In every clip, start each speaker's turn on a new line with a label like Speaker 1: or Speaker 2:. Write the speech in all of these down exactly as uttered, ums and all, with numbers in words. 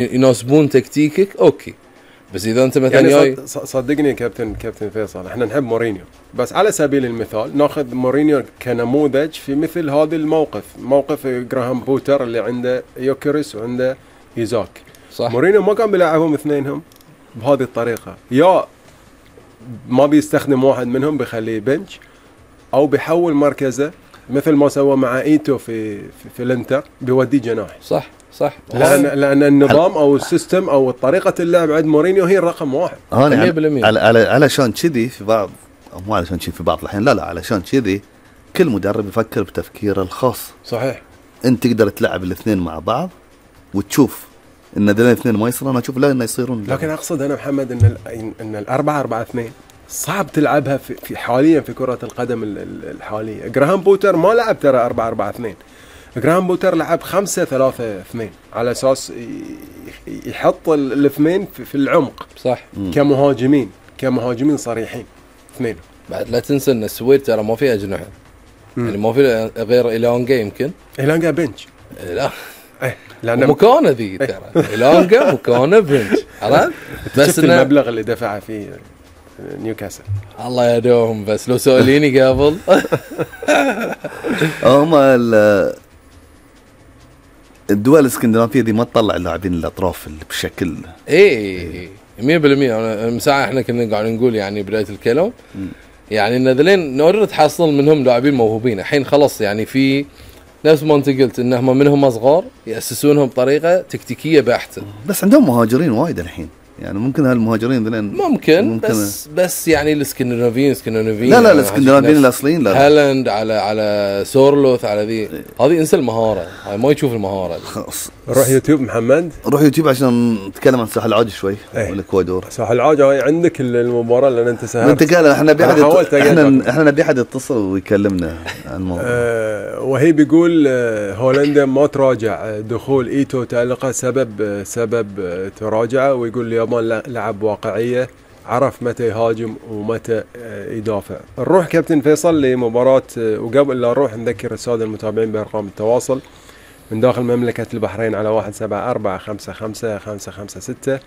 Speaker 1: يناسبون تكتيكك اوكي، بس اذا انت مثلا
Speaker 2: يعني
Speaker 1: جاي
Speaker 2: صدقني كابتن كابتن فيصل، احنا نحب مورينيو، بس على سبيل المثال ناخذ مورينيو كنموذج في مثل هذا الموقف، موقف جراهام بوتر اللي عنده يوكيريس وعنده ايزاك.
Speaker 1: صح.
Speaker 2: مورينيو ما كان بيلعبهم اثنينهم بهذه الطريقه، يا ما بيستخدم واحد منهم بيخليه بنش، او بيحول مركزه مثل ما سوى مع ايتو في في, في الانتر، بيوديه جناح.
Speaker 1: صح صح.
Speaker 2: لان لان النظام او السيستم او طريقه اللعب عند مورينيو هي الرقم واحد.
Speaker 1: مية بالمية.
Speaker 3: على على علشان كذي في بعض، مو علشان كذي في بعض الحين، لا لا علشان كذي كل مدرب يفكر بتفكيره الخاص.
Speaker 2: صحيح.
Speaker 3: انت تقدر تلعب الاثنين مع بعض وتشوف ان ذول الاثنين ما يصيرون، انا اشوف لا انه يصيرون.
Speaker 2: لكن اقصد انا محمد ان ان الأربعة أربعة اثنين صعب تلعبها في, في حاليا في كرة القدم الحالية. جراهام بوتر ما لعب ترى أربعة أربعة اثنين، جراهام بوتر لعب خمسة ثلاثة اثنين على اساس يحط الاثنين في العمق.
Speaker 1: صح.
Speaker 2: كمهاجمين كمهاجمين صريحين اثنين.
Speaker 1: بعد لا تنسى ان السويد ترى ما فيها اجنحه، يعني ما في غير إيلانجا، يمكن
Speaker 2: إيلانجا بنش.
Speaker 1: لا
Speaker 2: ايه لأن
Speaker 1: مكانه ذي ترى إيلانجا مكانه بنش، عرفت؟
Speaker 2: بس المبلغ اللي دفعه فيه نيوكاسل
Speaker 1: الله يدوهم، بس لو سؤاليني قبل
Speaker 3: هم الدول الاسكندنافية دي ما تطلع اللاعبين الاطراف بشكل
Speaker 1: ايه مية بالمية. انا مساعة احنا كنا قاعدين نقول يعني بداية الكلام م. يعني النذلين نقدر تحصل منهم لاعبين موهوبين الحين خلاص، يعني في نفس ما انت قلت انهم منهم صغار يأسسونهم بطريقة تكتيكية بحتة،
Speaker 3: بس عندهم مهاجرين وايد الحين، يعني ممكن هالمهاجرين ذلين
Speaker 1: ممكن, ممكن بس بس يعني الاسكندنافيين اسكندنافيين
Speaker 3: لا لا الاسكندنافيين الاصليين لا
Speaker 1: هالاند على على سورلوث على ذي هذه انسى المهاره، هاي ما يشوف المهاره.
Speaker 2: روح يوتيوب محمد،
Speaker 3: روح يوتيوب عشان نتكلم عن ساحل العاج شوي والاكوادور.
Speaker 2: ساحل العاج عندك المباراه اللي انت سهرت
Speaker 3: انت قال احنا نبي احد احنا احنا نبي احد يتصل ويكلمنا عن الموضوع.
Speaker 2: أه وهي بيقول هولندا ما تراجع دخول ايتو تألقه سبب سبب تراجعه، ويقول اليابان لعب واقعيه، عرف متى يهاجم ومتى يدافع. نروح كابتن فيصل لمباراة، وقبل لا نروح نذكر السادة المتابعين بأرقام التواصل من داخل مملكة البحرين على واحد سبعة أربعة خمسة خمسة خمسة خمسة ستة،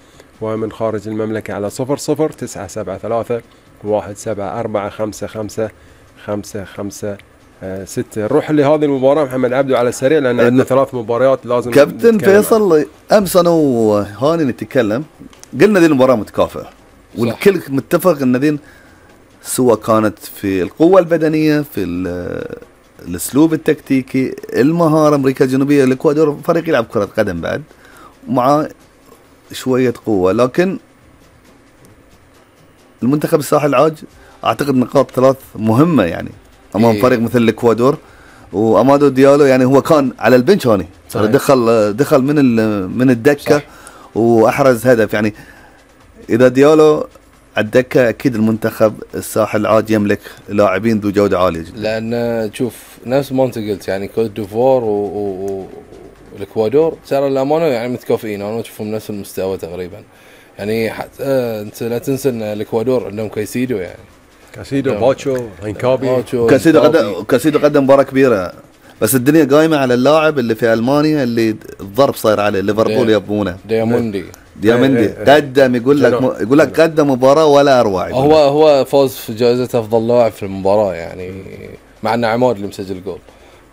Speaker 2: ومن خارج المملكة على صفر صفر تسعة سبعة ثلاثة واحد سبعة أربعة خمسة خمسة خمسة خمسة ستة. نروح لهذه المباراة محمد عبدو على السريع لأن عندنا ثلاث مباريات لازم
Speaker 3: كابتن فيصل. أمس أنا وهاني نتكلم قلنا ذي المباراة متكافئة، والكل متفق ان ذي سواء كانت في القوة البدنية، في الاسلوب التكتيكي، المهارة. امريكا الجنوبية الاكوادور فريق يلعب كرة قدم بعد مع شوية قوة، لكن المنتخب الساحل العاج اعتقد نقاط ثلاث مهمة يعني امام فريق مثل الاكوادور. وامادو ديالو يعني هو كان على البنش هاني، دخل دخل من من الدكة صح. واحرز هدف. يعني إذا ديالو على الدكة أكيد المنتخب الساحل العاج يملك لاعبين ذو جودة عالية جدا.
Speaker 1: لأن تشوف نفس ما أنت قلت يعني كوت ديفوار والإكوادور ترى الأمانة يعني متكافئين، أنا أشوفهم نفس المستوى تقريبا. يعني حتى أنت لا تنسى أن الإكوادور عندهم كايسيدو، يعني
Speaker 2: كايسيدو باتشو رينكابي.
Speaker 3: كايسيدو قدم كايسيدو قدم مباراة كبيرة، بس الدنيا قايمة على اللاعب اللي في ألمانيا اللي الضرب صاير عليه ليفربول يبونه
Speaker 1: دياموندي.
Speaker 3: ديامندي قدم يقول لك يقول لك قدم مباراة ولا أروع.
Speaker 1: هو هو فاز في جائزة أفضل لاعب في المباراة يعني مع أن عماد اللي مسجل جول.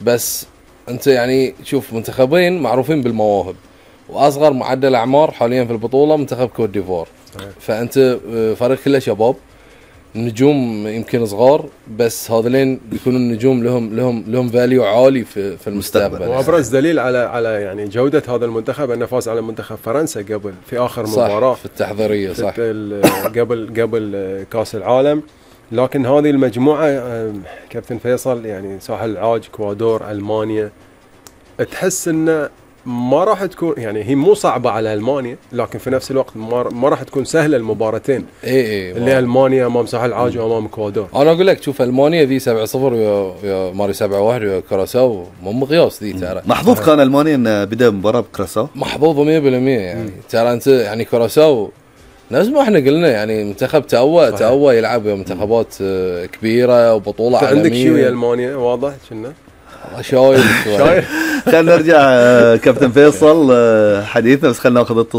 Speaker 1: بس أنت يعني شوف منتخبين معروفين بالمواهب، وأصغر معدل أعمار حاليا في البطولة منتخب كوت ديفوار، فأنت فريق كله شباب، نجوم يمكن صغار، بس هذولين بيكونوا النجوم لهم لهم لهم فاليو عالي في في المستقبل.
Speaker 2: وابرز دليل على على يعني جوده هذا المنتخب انه فاز على منتخب فرنسا قبل في اخر
Speaker 1: صح
Speaker 2: مباراه
Speaker 1: في التحضيريه صح
Speaker 2: قبل قبل كاس العالم. لكن هذه المجموعه كابتن فيصل يعني ساحل العاج، اكوادور، المانيا، تحس انه ما راح تكون يعني هي مو صعبة على ألمانيا، لكن في نفس الوقت ما راح تكون سهلة المباراتين.
Speaker 1: إيه إيه
Speaker 2: اللي ألمانيا أمام ساحل العاج وأمام إكوادور.
Speaker 1: أنا أقول لك شوف ألمانيا ذي سبعة صفر ويا ماري سبعة واحد ويا كراساو، مو مقياس ذي ترى.
Speaker 3: محظوظ كان ألمانيا إن بدأ مباراة بكراساو.
Speaker 1: محظوظ مية بالمية يعني. ترى أنت يعني كراساو نفس ما احنا قلنا يعني منتخب تأوى تأوى يلعب منتخبات كبيرة وبطولة عالمية.
Speaker 2: عندك شو يا ألمانيا واضح كنا.
Speaker 1: شايل شوي.
Speaker 2: شايف
Speaker 3: خلينا نرجع آه، كابتن فيصل آه، حديثنا، بس خلينا ناخذ